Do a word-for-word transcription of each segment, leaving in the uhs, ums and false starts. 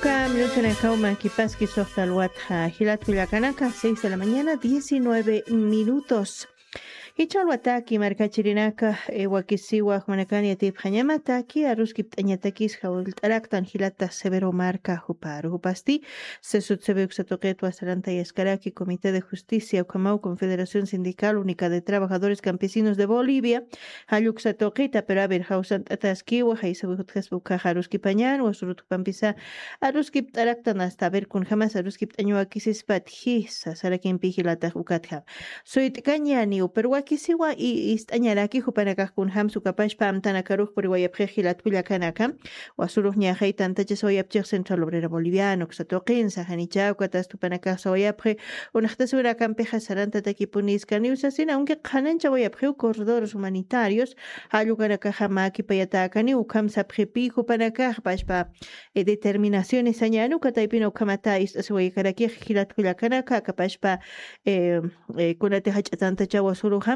Kam lutanakaw makipaski suxta alwatxa jilat kullakanaka, seis de la mañana, diecinueve minutos. Jichha alwataki markachirinaka, eh, wakisiwa jumanakani atipxañamataki aruskipt'añatakis jawillt'araktan jilata Severo Marca juparu. Jupasti sesut sebe uksa tuqitwa sarantayaskaraki Comité de Justicia ukhamaw Confederación Sindical Única de Trabajadores Campesinos de Bolivia, jalluksa tuqita, pero a ver, jawsant'ataskiwa, jaysawi jutjaspa ukaxa aruskipañan, wasurut jupampisa aruskipt'araktan hasta, a ver, kunjamas aruskipt'añawakisispat jisa sarakimpi jilatax ukatjam. Suyt'kañaniw, pero wakisiwa i-, ist'añaraki jupanakax kunjam sukapashpa amtanakarux puriwayapxix jilat kullakanaka. Wasurux ñaxay tantachasawayapchix Central Obrera Boliviana uksa tuqin, saxanichaw katast jupanakax sawayapxi, unaxtasurakampixa sarantatakipuniskaniw sasina, aunque qhananchawayapxiw corredores humanitarios, jallukanakaxa mäkipayatäkaniw, ukham sapxipi jupanakax pashpa, eh, determinaciones sañäni, uka taypina ukhamata ist'asiwaykarakix jilat kullakanaka, aka pashpa, eh, eh, kunati jach'a tantachawa suruxa,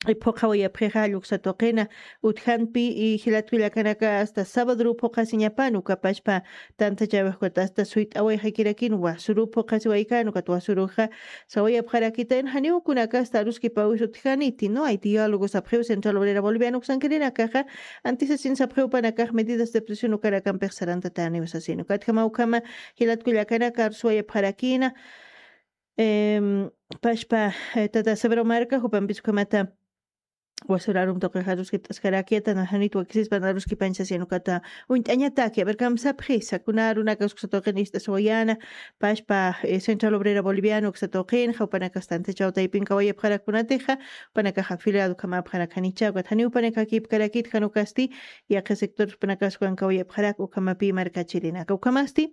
eh, phuqhawayapxixa lluksa tuqina utjanpi, y jilat kullakanaka hasta sabadru phuqhasiñapan, uka pashpa tantachawix ukat hasta suyt'awayxakirakin wasuru phuqhasiwaykan, ukat wasuruxa sawayapxarakitan, janiw kunaka hasta aruskipawis utjaniti, no hay diálogo sapxiw Central Obrera Boliviana uksankirinakaxa, antisasin sapxiw jupanakax medidas de presión ukanakampix sarantatäniw sasin. Ukatjama ukhama jilat kullakanaka arusuwayapxarakina, em, pashpa, eh, tata Severo Marca, jupampis ukhamata wasura arum tuqix aruskipt'askarakita, naxanit wakisispan aruskipañ sasin ukata uñt'añataki. A ver, kamsapxisa, kuna arunaka uksa tuqin ist'asiwayana, pashpa, eh, Central Obrera Boliviana uksa tuqin, jawpanakax tantachaw taypin kawayapxarak kunatixa, jupanakax afiliado ukhamapxarak janichaw, ukat janiw jupanakax kipkarakit, jan ukasti, yaqha sector jupanakax ukan kawayapxarak, ukhamapi markachirinaka. Ukhamasti,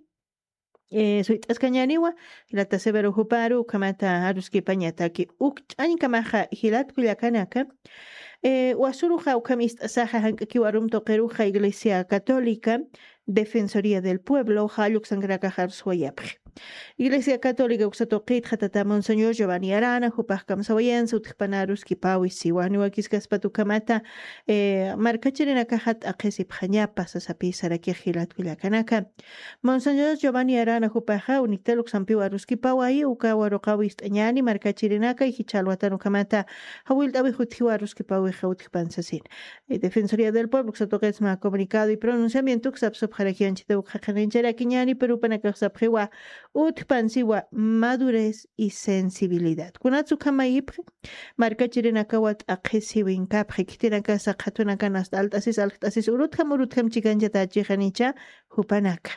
eh, suyt'askañäniwa, jilata Severo juparu, ukhamata aruskipañataki. Uk ch'añkamaxa jilat kullakanaka, eh, wasuruxa ukham ist'asaxa jank'akiw arum tuqiruxa Iglesia Católica, Defensoría del Pueblo, jalluksankarakax arusuwayapxi. Iglesia Católica uksa tuqitxa tata Monseñor Giovanni Arana, jupax kamsawayansa utjpana aruskipawi siwa, janiw wakiskaspat ukhamata, eh, markachirinakaxa t'aqhisipxañapa sasapi sarakix jilat kullakanaka. Monseñor Giovanni Arana jupaxa UNICTAL uksampiw aruskipawayi, uka waruqaw ist'añäni markachirinaka, jichha alwatan ukhamata jawillt'awix utjiwa aruskipawixa utjpan sasin. Eh, Defensoría del Pueblo uksa tuqit mä comunicado y pronunciamiento uksa sapxarakiw anchhita uk qhaqhanicharakiñäni, pero jupanakax sapxiwa utjpan siwa madurez y sensibilidad. Kunats ukham mayipxi, markachirinakawa t'aqhisiwinkapxi, khitinakasa qhatunakan hasta alt'asis, alkt'asis, urutjam, urutjam chikanchatächixanicha jupanaka.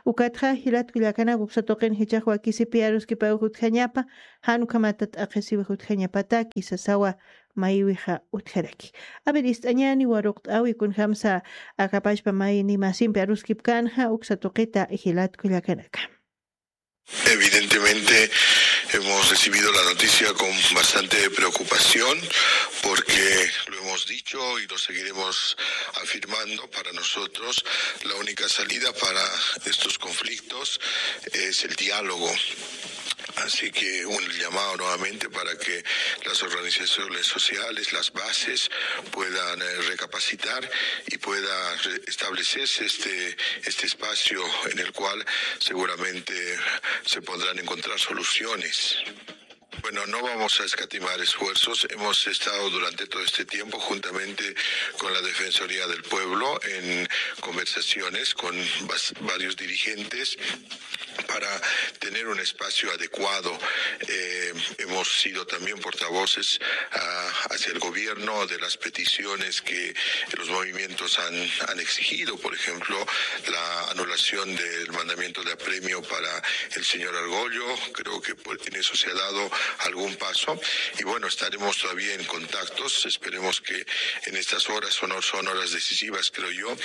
Ukatxa jilat kullakanaka uksa tuqin jichhax wakisipi aruskipawix utjañapa, jan ukhamata t'aqhisiwix utjañapataki sasawa mayiwixa utjaraki. A ver, ist'añäni waruqt'awi kunjamsa aka pachpa mayni masimpi aruskipkänxa uksa tuqita jilat kullakanaka. Evidentemente hemos recibido la noticia con bastante preocupación porque lo hemos dicho y lo seguiremos afirmando, para nosotros la única salida para estos conflictos es el diálogo. Así que un llamado nuevamente para que las organizaciones sociales, las bases, puedan, eh, recapacitar y pueda re-, establecerse este, este espacio en el cual seguramente se podrán encontrar soluciones. Bueno, no vamos a escatimar esfuerzos. Hemos estado durante todo este tiempo juntamente con la Defensoría del Pueblo en conversaciones con vas-, varios dirigentes para tener un espacio adecuado. Eh, hemos sido también portavoces, ah, hacia el gobierno de las peticiones que los movimientos han, han exigido, por ejemplo, la anulación del mandamiento de apremio para el señor Argollo. Creo que por, en eso se ha dado algún paso. Y bueno, estaremos todavía en contactos. Esperemos que en estas horas son, son horas decisivas, creo yo,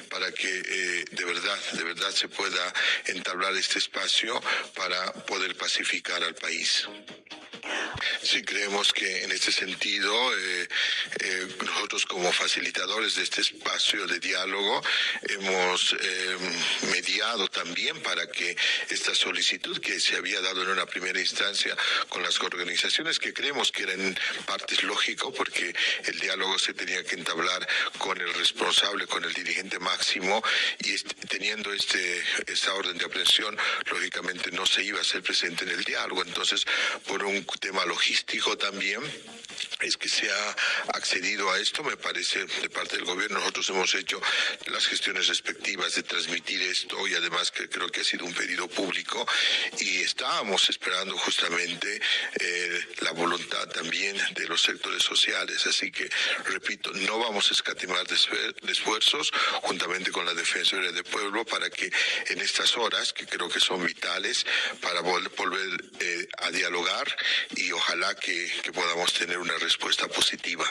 para que, eh, de verdad, de verdad se pueda entablar este espacio para poder pacificar al país. Sí, creemos que en este sentido, eh, eh, nosotros como facilitadores de este espacio de diálogo hemos eh, mediado también para que esta solicitud que se había dado en una primera instancia con las organizaciones, que creemos que era en parte lógico, porque el diálogo se tenía que entablar con el responsable, con el dirigente máximo, y este, teniendo este, esta orden de aprehensión, lógicamente no se iba a ser presente en el diálogo. Entonces, por un tema logístico también, es que se ha accedido a esto, me parece, de parte del gobierno. Nosotros hemos hecho las gestiones respectivas de transmitir esto y además que creo que ha sido un pedido público y estábamos esperando justamente eh, la voluntad también de los sectores sociales. Así que, repito, no vamos a escatimar esfuerzos juntamente con la Defensoría del Pueblo para que en estas horas, que creo que son vitales, para volver eh, a dialogar y ojalá que, que podamos tener una respuesta positiva.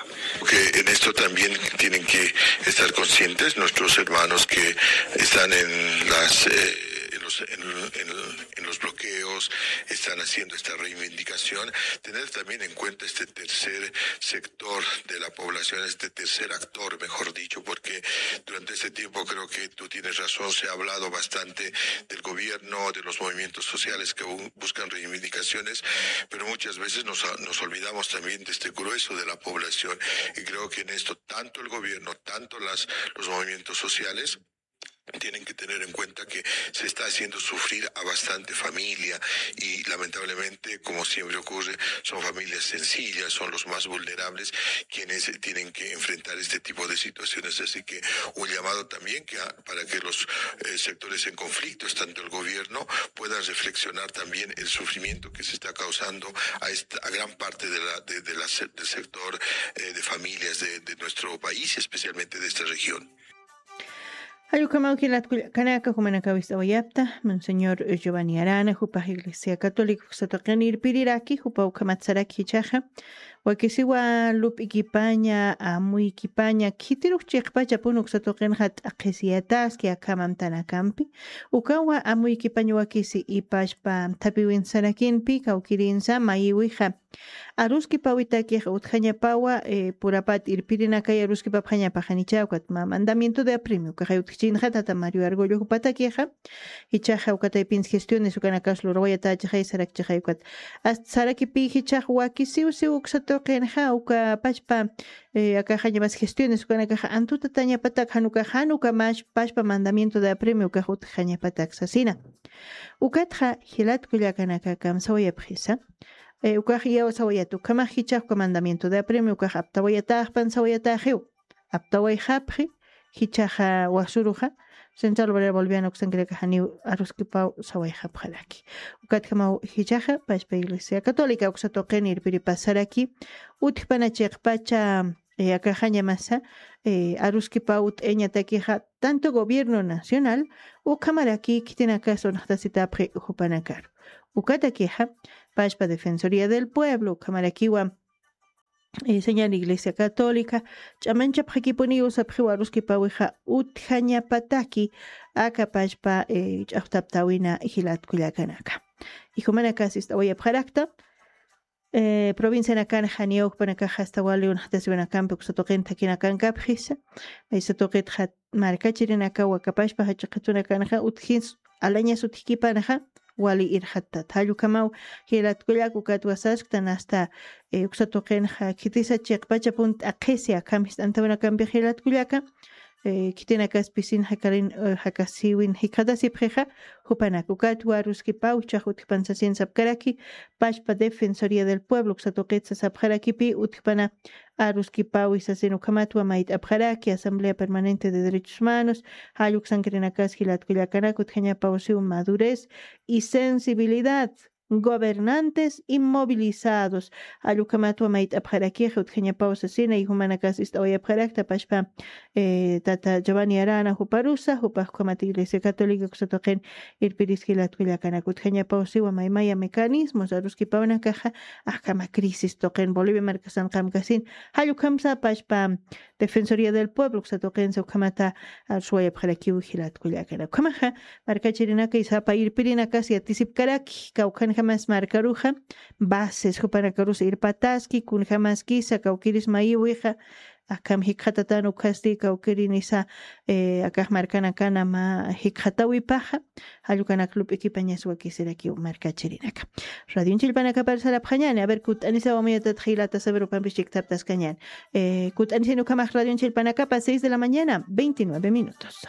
Que en esto también tienen que estar conscientes nuestros hermanos que están en las eh, en los, en, en- en los bloqueos, están haciendo esta reivindicación, tener también en cuenta este tercer sector de la población, este tercer actor, mejor dicho, porque durante este tiempo creo que tú tienes razón, se ha hablado bastante del gobierno, de los movimientos sociales que bu- buscan reivindicaciones, pero muchas veces nos, nos olvidamos también de este grueso de la población. Y creo que en esto tanto el gobierno, tanto las, los movimientos sociales tienen que tener en cuenta que se está haciendo sufrir a bastante familia y lamentablemente, como siempre ocurre, son familias sencillas, son los más vulnerables quienes tienen que enfrentar este tipo de situaciones. Así que un llamado también que a- para que los eh, sectores en conflicto, tanto el gobierno, puedan reflexionar también el sufrimiento que se está causando a, esta, a gran parte de la, de, de la se- del sector eh, de familias de, de nuestro país, especialmente de esta región. Jallukamaw jilatkullakanaka jumanakaw ist'awayapta, monseñor Giovanni Arana jupax iglesia católica uksatuqin irpiriraki jupa ukhamat saraki jichhaxa, wakisiwa lup'ikipaña amuykipaña khitirux chiqpachapun uksatuqinxa t'aqhisiyataski akhamamtanakampi, ukawa amuykipaña wakisi ipachpa thapiwin sarakinpi kawkirinsa mayiwixa aruskipawitakix utjañapawa eh, purapat irpirinakay aruskipapxañapaxanicha ukat mä mandamiento de apremio ukaxay utjchinxa tata mario argollo jupatakixa, jichhaxa ukataypins gestiones ukanakas lurawayatachaxay sarakchaxay ukat, ast sarakipi jichhax wakisiw siw uksa tuqinxa uka pachpa eh, akaxañamas gestiones ukanakaxa antutatañapatak jan ukax jan uka mash pachpa mandamiento de apremio ukax utjañapatak sasina. Ukatxa jilatkullakanakakam sawayapxisa. Eh, ukax iyaw sawayat ukhamax jichhax uka mandamiento de apremio ukax aptawayataxpan sawayataxiw, aptawayxapxi jichhaxa wasuruxa central obrera boliviana uksankirakaxaniw aruskipaw sawayxapxaraki. Ukatjamaw jichhaxa pachpa iglesia católica uksa tuqin irpiripasaraki utjpana chiqpacha eh, akaxañamasa eh, aruskipaw t'eñatakixa tanto gobierno nacional ukhamaraki khitinakas unxtasitapxi jupanakaru. Ukatakixa pachpa defensoría del pueblo ukhamarakiwa eh, señal iglesia católica ch'amanchapxakipuniw sapxiw aruskipawixa utjañapataki aka pachpa eh, ch'axtaptawina jilatkullakanaka. Ijumanakas ist'awayapxarakta eh, provincianakan janiw ukpanakax asta wali unxtasiwinakampi uksatuqin thakinakankapxisa. Maysatuqitxa markachirinaka wakapashpa jachaqatunakanxa utjins alañas utjkipanxa wali irxattat jallukamaw jilatkullak ukatwasasktan asta eh, uksatuqinxa khitisa chiqpachapun t'aqhisi akham jist'antawinakampix jilatkullaka eh, khitinakas pisin jakarin eh, jakasiwin jikxatasipxixa jupanak ukatwa aruskipaw jichhax utjpan sasin sapkaraki pachpa defensoría del pueblo uksatuqit sasapxarakipi utjpana aruskipawi sasin ukhamatwa mayt'apxaraki asamblea permanente de derechos humanos jalluksankirinakas jilatkullakanak utjañapawsiw madurez y sensibilidad gobernantes y movilizados jallukhamatwa mayt'apxarakix utjañapaw sasina ijumanakas ist'awayapxarakta pachpa eh, tata giovanni arana juparusa jupax ukhamat iglesia católica uksatuqin irpiriskilatkullakanak utjañapawsiwa maymaya mecanismos aruskipawnakaxa ajkama crisis tuqin bolivia markasanqamkasin jallukhamsa pachpa defensoría del pueblo uksatuqinsa ukhamata arsuwayapxarakiw jilatkullakanak ukhamaxa markachirinaka isapa irpirinakas yatisipkaraki kawkhan Kunjamas markaruxa, bases jupanakarus irpataski, kunjamaskisa kawkiris mayiwixa, akham jikxatatan ukhasti kawkirinisa, eh, akax markanakana mä jikxatawipaxa, jallukanak lup'ikipañas wakisirakiw markachirinaka. Radionchillpanakapar sarapxañani, a ver, kut'anisaw amuyatatat jilata saber ukampis chiktaptaskañani. Eh, kut'anisin ukhamax radionchillpanakapa, seis de la mañana, veintinueve minutos.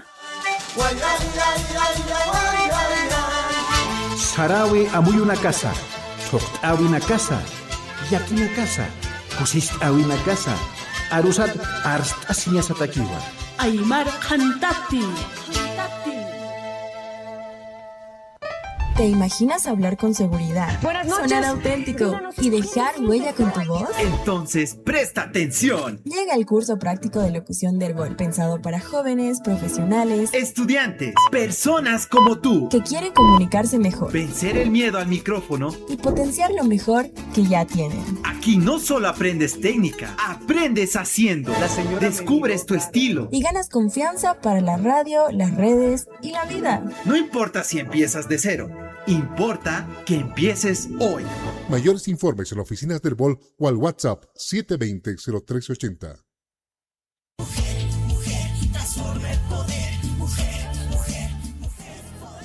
Sarawi amuyunakasa, thuqt'äwinakasa, llakinakasa, kusist'äwinakasa, arusat arst'asiñasatakiwa. Aymar qhantati. ¿Te imaginas hablar con seguridad, sonar auténtico y dejar huella con tu voz? Entonces, presta atención. Llega el curso práctico de locución de Erbol, pensado para jóvenes, profesionales, estudiantes, personas como tú que quieren comunicarse mejor, vencer el miedo al micrófono y potenciar lo mejor que ya tienen. Aquí no solo aprendes técnica, aprendes haciendo. Descubres tu estilo y ganas confianza para la radio, las redes y la vida. No importa si empiezas de cero, importa que empieces hoy. Mayores informes en oficinas de Erbol o al WhatsApp siete veinte, cero tres ochenta.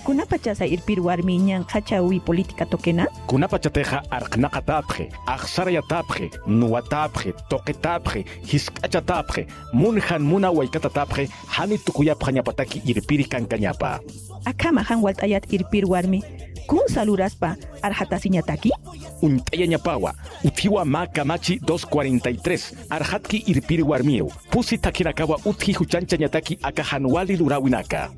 ¿Kunapachasa irpir warmi ñanqhachawi política tuqina? Kunapachatixa arqnaqatäpxi, axsarayatäpxi, nuwatäpxi, tuqitäpxi, jisk'achatäpxi, munjan muna waykatatapxi, jani tukuyapxañapataki irpiri kankañapa. Akhama jan walt'ayat irpir warmi, kunsa luraspa arxatasiñataki? Uñt'ayañapawa, utjiwa mä kamachi dos cuarenta y tres, arxatki irpir warmiw, pusi thakhinakawa utji juchanchañataki aka jan wali luräwinaka.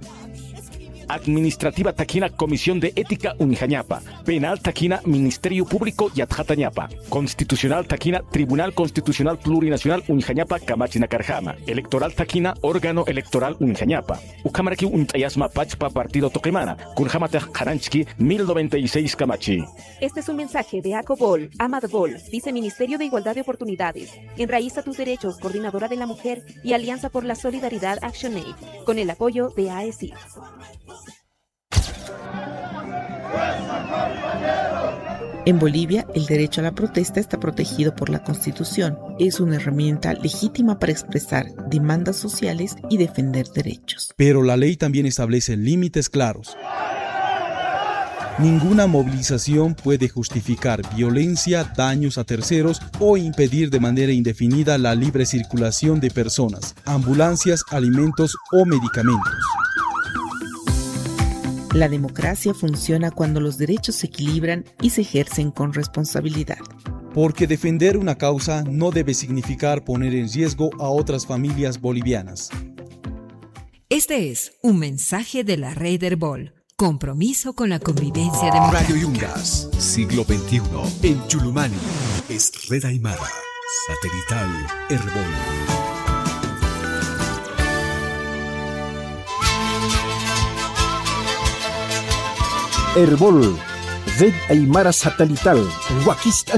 Administrativa thakina Comisión de Ética uñjañapa, penal thakina Ministerio Público yatxatañapa, constitucional thakina Tribunal Constitucional Plurinacional uñjañapa kamachinakarjama, electoral thakina órgano electoral uñjañapa. Ukhamarakiw uñt'ayasma pachpa partido tuqimana, kunjamatix qhananchki mil noventa y seis kamachi. Este es un mensaje de Acobol, Amadbol, Viceministerio de Igualdad de Oportunidades, Enraiza tus Derechos, Coordinadora de la Mujer y Alianza por la Solidaridad ActionAid, con el apoyo de AECID. En Bolivia, el derecho a la protesta está protegido por la Constitución. Es una herramienta legítima para expresar demandas sociales y defender derechos. Pero la ley también establece límites claros. Ninguna movilización puede justificar violencia, daños a terceros o impedir de manera indefinida la libre circulación de personas, ambulancias, alimentos o medicamentos. La democracia funciona cuando los derechos se equilibran y se ejercen con responsabilidad. Porque defender una causa no debe significar poner en riesgo a otras familias bolivianas. Este es un mensaje de la Red Erbol, compromiso con la convivencia democrática. Radio Yungas, siglo veintiuno, en Chulumani, es Red Aymara, satelital Erbol. Erbol, Red Aymara Satelital, wakist'ani